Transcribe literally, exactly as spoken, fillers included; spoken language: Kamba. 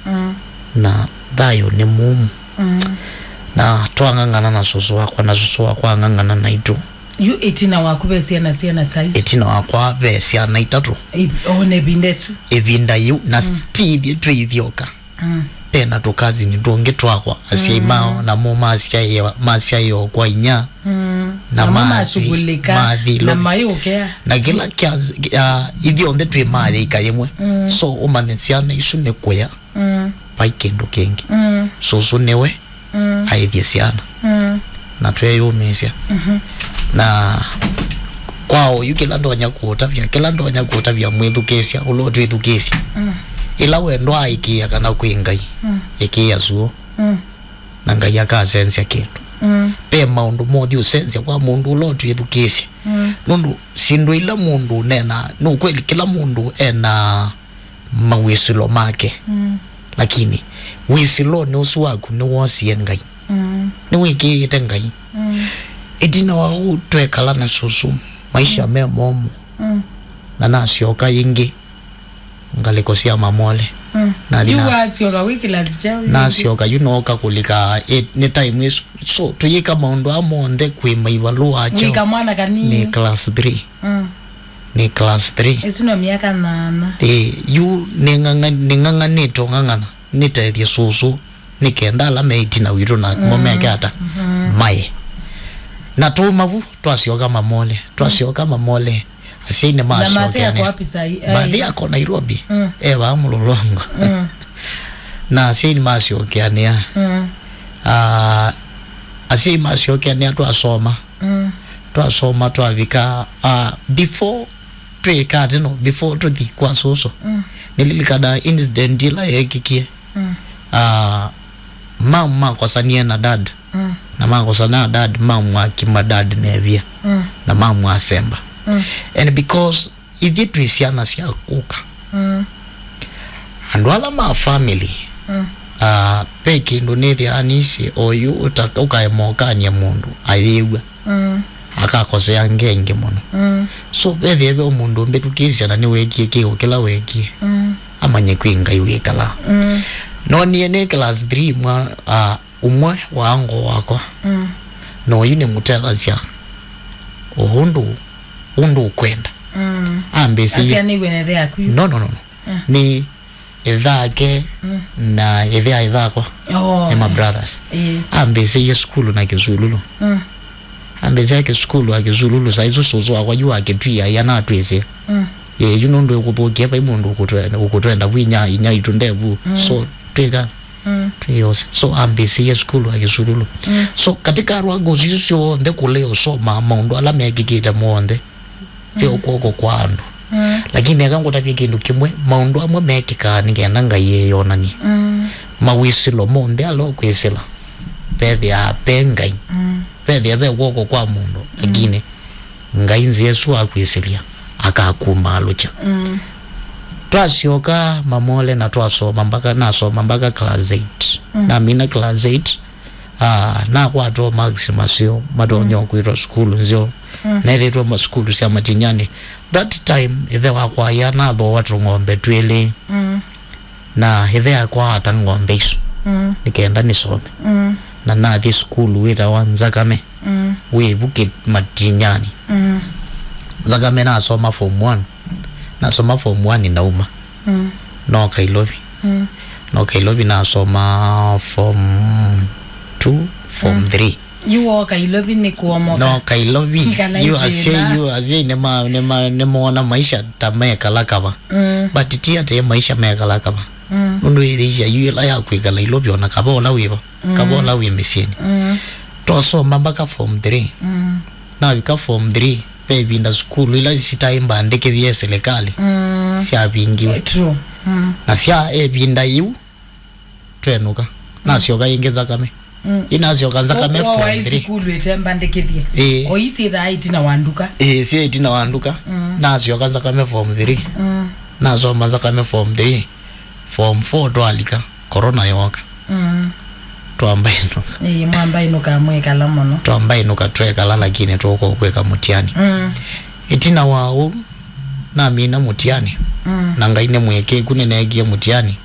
Mm. Na thayũ nĩ mũmu. Mm. Na twang'ang'ana na sũsũ wakwa, na sũsũ wakwa ang'ang'ana naitũ. Yu ĩtina waku ve syana, syana size? Ĩtina wakwa ve syana itatũ. I-, o na ĩvinda ĩsu? Ĩvinda yĩu, na mm, ti ithyĩ twĩ ithyoka. Mm. Ve na tũkazini tũngĩ twakwa, asyai mm, mao, namo masyaĩwa, masyaĩwa kwa inya. Mm. Na namo mathi, mashughulika, mathi na lovi, mayũkea. Na kĩla kya, ya, ithyonthe twĩ mathĩika yĩmwe. Mm. So, ũmanye syana isu nĩ kũya. Mm. Vai kĩndũ kĩngĩ. Mm. Sũsũ nĩwe mm, aĩthye syana. Mm. Na tweyũmĩĩsya. Mhm. Na kwa oyu kĩla ndonya kũũtavya, kĩla ndonya kũũtavya mwĩthukĩĩsya, ũla ũtwĩthukĩĩsya. Mm. Ĩla wendwa aĩkĩĩa kana kwĩ Ngai, mm, ĩkĩĩa suo. Mm. Na Ngai akasenzya kĩndũ. Mm. Ve maũndũ mothi ũsenzya kwa mũndũ ũla ũtwĩthukĩĩsya. Mm. Nũndũ syĩndũ ila mũndũ ũneenaa, nĩ ũkweli kĩla mũndũ ena mawĩsĩlo make. Mm. Lakini wĩsĩlonĩ ũsu waku nĩwoosie Ngai. Mm. Nĩwĩkĩĩte Ngai. Mm. Ĩtina wa ũu twekala na sũsũ, maisha me momũ. Mm. Na nasyoka yĩngĩ ngalĩko sya Mamole. Mm. Nathi yu na- wasyoka wĩ kĩlasi kyaũ yu? Nasyoka yu nooka kũlika, eh, nĩ time ĩsu. So, tũyĩka maũndũ aa monthe kwĩ maivalũa kyaũ? Wĩka mwana kanini. Nĩ class three. Mm. Nĩ class three. Ĩsu no myaka nyanya. Ĩ, yu nĩng'ang'a-, nĩng'ang'anĩte ũng'ang'ana nĩtethye sũsũ, nĩ kenda ala me ĩtina witũ na mo meke ata? Mhm. Maye. Na tũũma vu, twasyoka Mamole. Twasyoka Mamole, asyai nĩmasyokeanĩa. Na Mathe ako wapi saa hii? Mathe ako Nairobi. Mm. E vaa Mlolongo. Mm. Na asyai nĩmasyokeanĩa. Mm. Ah, asyai masyokeanĩa twasoma. Mm. Twasoma twavika, ah, before twĩka atĩ no, before tũthi kwa sũsũ. Mm. Nĩlilikana incident ĩla yeekikie. Mm. Ah, mam makosanie na dad. Mm. Na makosana na dad, mam akima dad nevia. Mm. Na mam asemba. Mm. And because ithyĩ twĩ syana sya kũka. Mm. Andũ ala ma family, mm, ah, ve kĩndũ nĩthĩaa nĩsĩ oyu ũta-, ũkaema ũkany'a mũndũ ayĩw'a. Mm. Akakosea ngeingĩ mũno. Mm. So, vethĩe ve mũndũ ũmbĩthukĩĩsya na nĩweekie kĩko kĩla weekie. Mm. Amanye kwĩ Ngai wĩkalaa. Mm. Nonie nĩ class three mwa, ah, ũmwe wa ngo wakwa. Mm. Na oyu nĩmũtethasya o ũndũ, ũndũ ũkwenda. Mm. Ambĩsĩie. Asianĩiwe na ĩthe yaku yu? No, no, no, no. Ah. Nĩ ĩthe ake, mm, na ĩthe a ĩthe akwa. Oh, nĩ ma brothers. Eh. Ambĩsĩie sukulu na Kĩsululu. Mm. Ambĩsĩie sukulu a Kĩsululu, saa isu sũsũ wakwa yu wa Kĩtui aia natwĩsĩ. Mm. Ye, yu nũndũ ĩkũthũkie vai mũndũ ũkũtwe-, ũkũtwenda vu inya, inya itũ ndevu. Mm. So, twĩka, mm, twĩose. So, ambĩsĩie sukulu a Kĩsululu. Mm. So, katika arwa ngosi isu syonthe kũlea ũsoma maũndũ ala mekĩkĩte monthe, ve, mm, ũkw'oko kwa andũ. Mm. Lakini eka ngũtavye kĩndũ kĩmwe, maũndũ amwe mekĩkaa nĩ kenda Ngai eyonanie. Mm. Mawĩsĩlo monthe ala ũkwĩsĩla, vethĩaa ve Ngai. Mm. Vethĩa ve kw'oko kwa mũndũ, mm, lakini Ngai nzĩa ĩsu akwĩsĩlya, akakumaalũkya. Mm. Twasyoka Mamole na twasoma mpaka, nasoma mpaka class eight. Mm. Namina class eight, ah, nakwatwa marks maseo, matonya, mm, kwĩtwa sukulu nzeo. Mm. Nethĩtwe ma-, sukulu sya Matinyani. That time, ĩthe wakwa ya nathooa tũng'ombe twĩlĩ. Mm. Na ĩthe akwa ata ng'ombe isu, mm, nĩ kenda nĩsome. Mm. Na nathi sukulu wĩtawa Nzakame, mm, wĩ vu kĩ-, Matinyani. Mm. Nzakame nasoma form one. Nasoma form one nauma. Mm. Nooka Ilovi. Mm. Nooka Ilovi nasoma form two, form, mm, three. Yu wooka Ilovi nĩ kũomoka? Nooka Ilovi. Yu asyai, yu asyai nĩma-, nĩma-, nĩmoona maisha ta mekala kava. Mm. But ti atĩ maisha mekala kava. Mm. Nũndũ ĩthĩisya yu ĩla ya kwĩkala Ilovi ona kava ũla wĩva. Mm. Kava ũla wĩ mĩsyĩnĩ. Mm. Twasoma mpaka form three. Mm. Navika form three, ve ĩvinda sukulu ila sitaĩ mbandĩkĩthye silikalĩ, mm, syavingiwe. Eh, true. Mm. Na sya ĩvinda yĩu, twenũka. Mm. Nasyoka ĩngĩ Nzakame. Mm. Inasyoka Nzakame form three. Waĩ sukulu ĩtembandĩkĩthye? Ĩĩ. O ii syĩthaa ĩtina wa nduka? Ĩĩ, syĩ ĩtina wa nduka. Mm. Nasyoka Nzakame form three. Mm. Nasoma Nzakame form three. Form four twalika, corona yooka. Mm. Twambainũka. Ĩĩ, mwambainũka mwekala mũno. Twambainũka twekala, lakini tũka kwĩka mũtiani. Mm. Ĩtina wa ũu, namina mũtiani. Mm. Na Ngai nĩ mũĩkĩĩku, nĩneekie mũtiani.